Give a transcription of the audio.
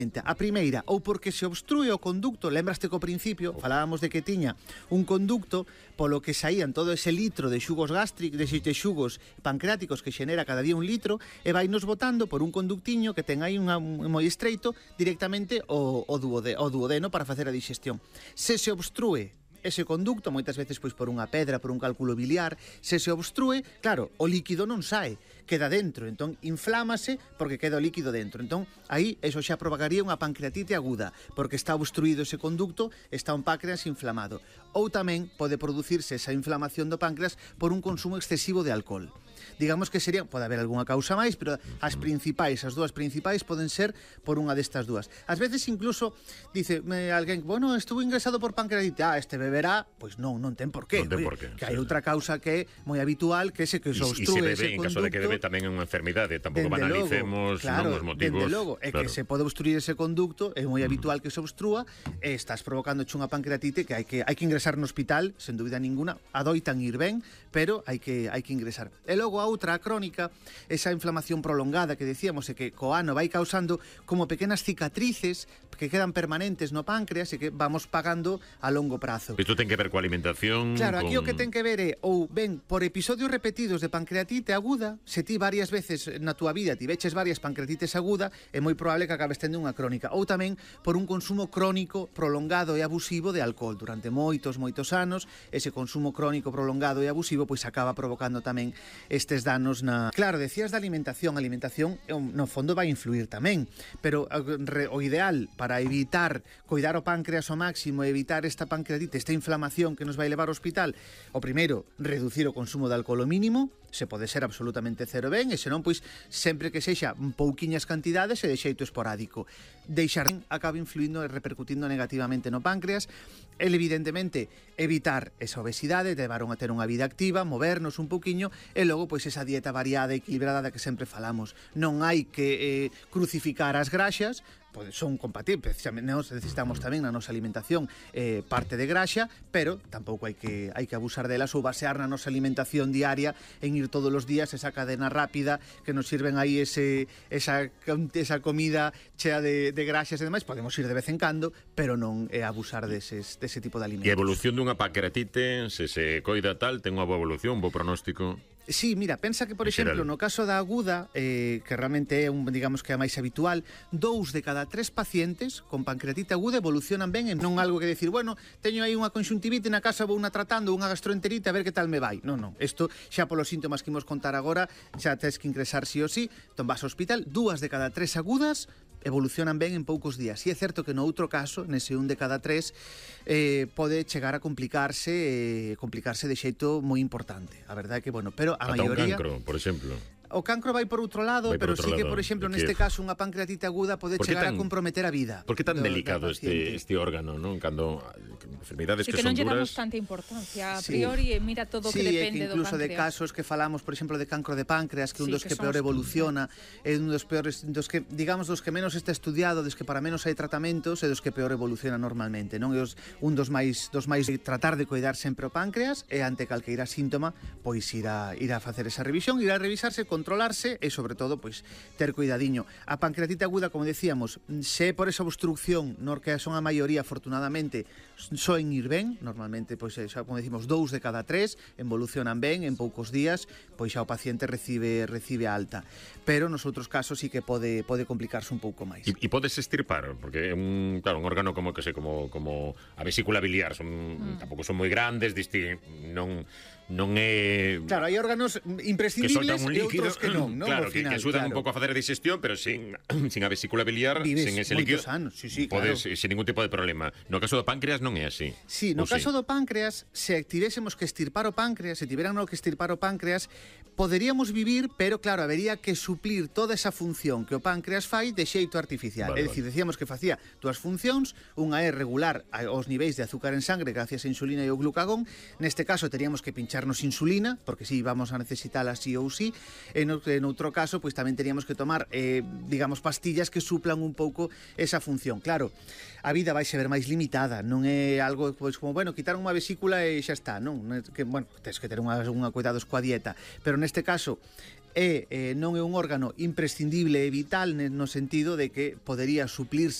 A primeira, ou porque se obstrúe o conducto, lembraste que ao principio falábamos de que tiña un conducto polo que saían todo ese litro de xugos gástricos, de xugos pancreáticos que xenera cada día un litro, e vai nos botando por un conductiño que ten aí un moi estreito directamente o duodeno para facer a digestión. Se obstrúe ese conducto, moitas veces pois por unha pedra, por un cálculo biliar, se obstrúe, claro, o líquido non sae, queda dentro, entón inflámase porque queda o líquido dentro. Entón, aí eso xa provocaría unha pancreatite aguda, porque está obstruído ese conducto, está un páncreas inflamado. Ou tamén pode producirse esa inflamación do páncreas por un consumo excesivo de alcohol. Digamos que sería, pode haber algunha causa máis, pero as dúas principais poden ser por unha destas dúas. Ás veces incluso dice alguén, bueno, estuvo ingresado por pancreatite, este beberá, pois non ten por qué. Non ten por qué. Que hai outra causa que é moi habitual, que é que se obstrúe ese conducto. En caso de que bebe tamén é unha enfermidade, tampouco banalicemos os motivos. Dende logo, é que se pode obstruir ese conducto, é moi habitual que se obstrúa, e estás provocando unha pancreatite que hai que ingresar no hospital, sen dúbida ninguna, adoitan ir ben, pero hai que ingresar. E logo a outra, a crónica, esa inflamación prolongada que decíamos e que co ano vai causando como pequenas cicatrices que quedan permanentes no páncreas e que vamos pagando a longo prazo. Isto ten que ver coa alimentación. Claro, aquí o que ten que ver é ou ben por episodios repetidos de pancreatite aguda, se ti varias veces na túa vida tiveches varias pancreatites aguda, é moi probable que acabes tendo unha crónica, ou tamén por un consumo crónico, prolongado e abusivo de alcohol durante moitos anos. Ese consumo crónico, prolongado e abusivo pois acaba provocando tamén estes danos na... Claro, decías da alimentación, no fondo vai influir tamén, pero o ideal para evitar coidar o páncreas ao máximo e evitar esta pancreatite, esta inflamación que nos vai levar ao hospital, o primeiro, reducir o consumo de alcohol ao mínimo, se pode ser absolutamente cero ben, e senón, pois, sempre que sexa pouquiñas cantidades e de xeito esporádico. Deixar acaba influindo e repercutindo negativamente no páncreas, e evidentemente evitar esa obesidade, levar a ter unha vida activa, movernos un pouquiño, e logo, pois, esa dieta variada e equilibrada da que sempre falamos. Non hai que crucificar as graxas, son compatibles, precisamente nós necesitamos tamén na nosa alimentación parte de graxa, pero tampouco hai que abusar delas ou basear na nosa alimentación diaria en ir todos os días esa cadena rápida que nos sirven aí esa comida chea de graxas e demais. Podemos ir de vez en cando, pero non abusar dese tipo de alimentos. E a evolución dunha pancreatite, se coida tal, ten unha boa evolución, un bo pronóstico? Sí, mira, pensa que, por exemplo, no caso da aguda, que realmente é digamos que é a máis habitual, 2 de cada 3 pacientes con pancreatite aguda evolucionan ben, e non algo que decir, bueno, teño aí unha conxuntivite na casa, vou unha tratando, unha gastroenterite, a ver que tal me vai. Non, isto xa polos síntomas que imos contar agora, xa tes que ingresar sí ou sí, entón vas ao hospital, 2 de cada 3 agudas evolucionan ben en poucos días. E é certo que no outro caso, nese 1 de cada 3, pode chegar a complicarse de xeito moi importante. A verdade é que, bueno, pero a maioría... Ata un cancro, por exemplo. O cancro vai por outro lado, pero sí que, por exemplo, neste caso, unha pancreatite aguda pode chegar a comprometer a vida. Por que tan delicado este órgano, non? Cando enfermidades que son duras... E que non lle damos tanta importancia a priori, e mira todo o que depende do páncreas. Incluso de casos que falamos, por exemplo, de cancro de páncreas, que un dos que peor evoluciona, é un dos peores, dos que, digamos, dos que menos está estudiado, dos que para menos hai tratamentos, e dos que peor evoluciona normalmente, non? É un dos máis tratar de coidar sempre o páncreas, e ante calqueira síntoma, pois ir a facer esa revisión, ir a revisarse, controlarse e, sobre todo, pois ter cuidadiño. A pancreatite aguda, como decíamos, se por esa obstrucción, no que son a maioría, afortunadamente, soen ir ben, normalmente, pois, xa, como decimos, 2 de cada 3 evolucionan ben, en poucos días, pois xa o paciente recibe alta. Pero nos outros casos sí que pode complicarse un pouco máis. E podes extirpar, porque un órgano como a vesícula biliar, tampouco son moi grandes, non é... Claro, hai órganos imprescindibles e outros que non, claro, que axudan un pouco a facer a digestión, pero sin a vesícula biliar, sin ese líquido, anos, sí, podes, sin ningún tipo de problema. No caso do páncreas non é así. Sí, no caso do páncreas, se tivésemos que extirpar o páncreas, se tiveran que extirpar o páncreas, poderíamos vivir, pero claro, habería que suplir toda esa función que o páncreas fai de xeito artificial. É dicir, decíamos que facía dúas funcións, unha é regular os niveis de azúcar en sangre gracias a insulina e o glucagón. Neste caso teríamos que pincharnos insulina, porque si vamos a necesitala sí ou sí. En outro caso, pois tamén teríamos que tomar, digamos, pastillas que suplan un pouco esa función. Claro, a vida vai ser máis limitada, non é algo pois como, bueno, quitar unha vesícula e xa está, non? Que, bueno, tens que ter unha cuidados coa dieta, pero neste caso non é un órgano imprescindible e vital no sentido de que podería suplirse